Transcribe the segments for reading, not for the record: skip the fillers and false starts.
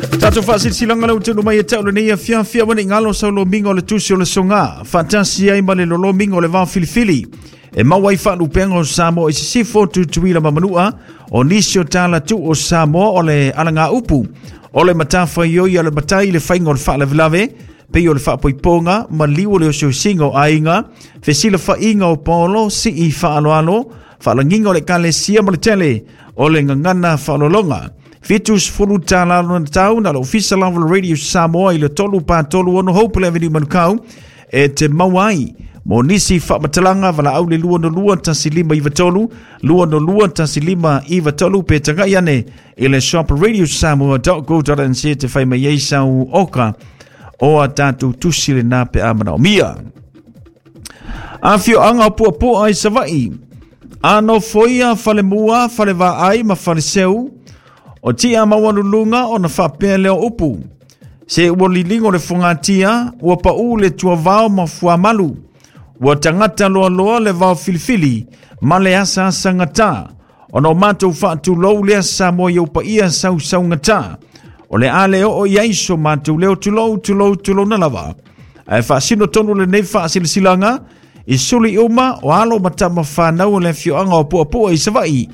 Tatou faasilasilaga lea ua tuuina mai e te au lenei afiafi aua ne i galo sau lomiga o le tusi o le soga faatasi ai ma le lolomiga o le vaofilifili e maua ai faalupega o Samoa i sisifo, Tutuila ma Manua. O nisi o tala tuu o Samoa o le alagaupu o le matafaioi a le matai i le faiga o le faalavelave, pei o le faapoipoga ma liu o le osiosiga o aiga, fesilafaiga o paolo, sii faaaloalo, faalagiga o le ekalesia ma le tele o le gagana faaaloaloga. $70 lona tau na le Ofisa lava o le Radio Samoa i le 336 Hope Avenue, Manukau e te maua ai. Mo nisi faamatalaga, valaau le 202 1593, 202 1593, pe tagai ane i le shop radiosamoa.co.nz te fai mai ai sau oka o a tatou tusi lena pe a manaomia. Afioaga o Puapua i Savaii, a nofoia falemua, falevaai ma faleseu, o tia maualuluga ona faapea lea o upu. Se ua liligo le fogatia, ua pau le tuavao ma fuamalu, ua tagata loaloa le vao filifili ma le asaasagata. Ona o matou faatulou lea Samoa i ou paia sausaugata. O le a le oo i ai so matou leo, tulou, tulou, tulouna lava. Ae faasino tonu lenei faasilasilaga i suli uma o alo ma tama whanau o le afioaga o Puapua i Savaii,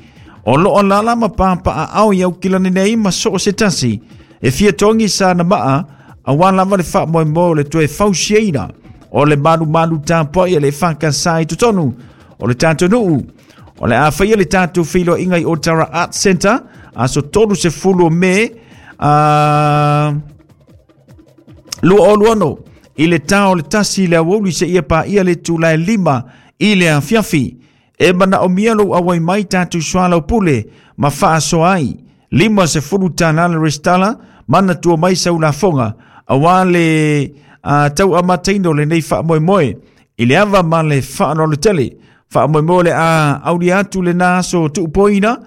o loo alala ma papaaao i Aukilani nei ma so o se tasi e fia togi sa na maa aua lava le faamoemoe o le toe fausiaina o le malumalu tapuai a le EFKS i totonu o le tatou nuu. O le a faia le tatou feiloaiga i Otara Art Center aso 30 o Me 2026 i le ta o le 1 i le aoauli seia paia le itula e 5 i le afiafi. E manaomia lou auai mai tatou soalaupule ma faasoa ai. $50 le resitala, manatua mai sau lafoga aua le tau amataina o lenei faamoemoe i le ava ma le faaaloalo tele. Faamoemoe o le a aulia atu lena aso tuupoina.